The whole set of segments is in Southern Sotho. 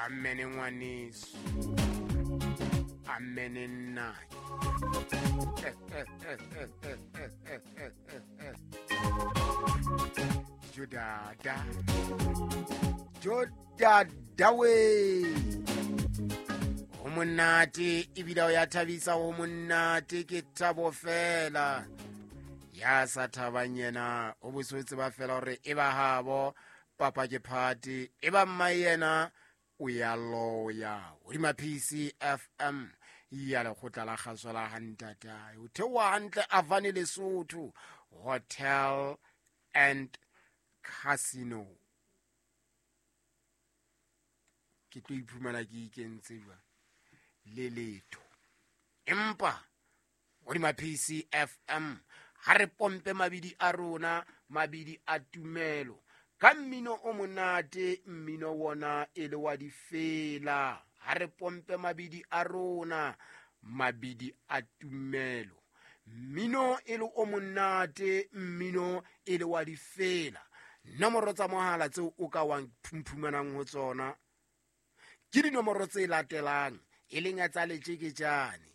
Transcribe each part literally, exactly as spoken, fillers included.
Amene ngwaneso, amene nnake. Jodada, jodada we. Ho monate ebile o ya thabisa, ho monate ke thabo fela. Ya sa thabang yena o bosotse ba fela hore e ba habo papa ke party, e ba mma yena o ya loya. Hodima P C F M ya lekgotla la kgaso la hantatae. O theoha hantle Avane Lesotho Hotel and Casino. Ke tlo iphumana ke ikentse jwang le letho. Empa hodima P C F M ha re pompe mabidi a rona, mabidi a tumelo ka mmino o monate, mmino wona e le wa difela. Ha re pompe mabidi a rona, mabidi a tumelo, mmino e le o monate, mmino e le wa difela. Nomoro tsa mohala tseo o ka wang phumpumanang ho tsona ke dinomoro tse latelang, e leng ya tsa letjeketjane.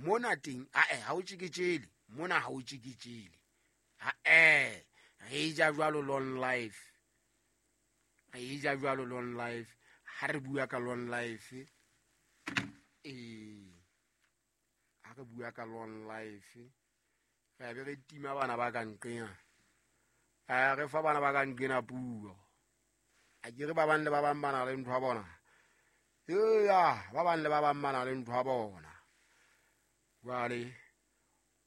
Mona teng ae ha o tjeketjele, mona ha o tjeketjele. Ae re ja jwalo long life, re ja jwalo long life. Ha re bua ka long life, eh ha re bua ka long life, re be re tima bana ba ka nqena. Eh re fa bana ba ka nqena puo. A ke re ba bang le ba bang ba na le ntho ya bona. Eya, ba bang le ba bang ba na le ntho ya bona. Jwale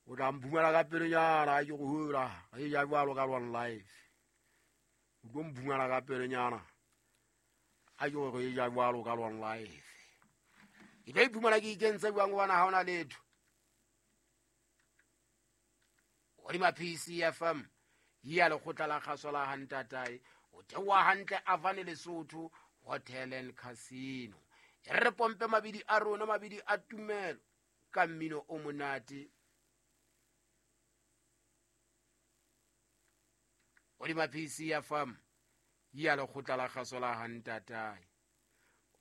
o tla mphumela ka pelenyana, ke go hula, re ja jwalo ka long life. O tlo mphumela ka pelenyana, a ke go re ja jwalo ka long life. Ke tlo iphumana ke ikentse jwang hobane ha hona letho. Hodima P C F M ya lekgotla la kgaso la hantatae, o theoha hantle Avane Lesotho Hotel and Casino. E re pompe mabidi a rona, mabidi a tumelo ka mmino o monate. Hodima P C F M ya lekgotla la kgaso la hantatae.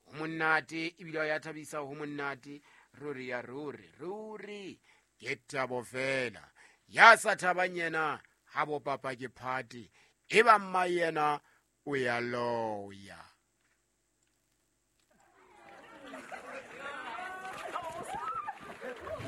Ho monate ebile ya thabisa, ho monate ruri ya ruri ruri ke thabo fela. Ya sa thabang yena ha bo papa ke party, e ba mma yena o ya loya.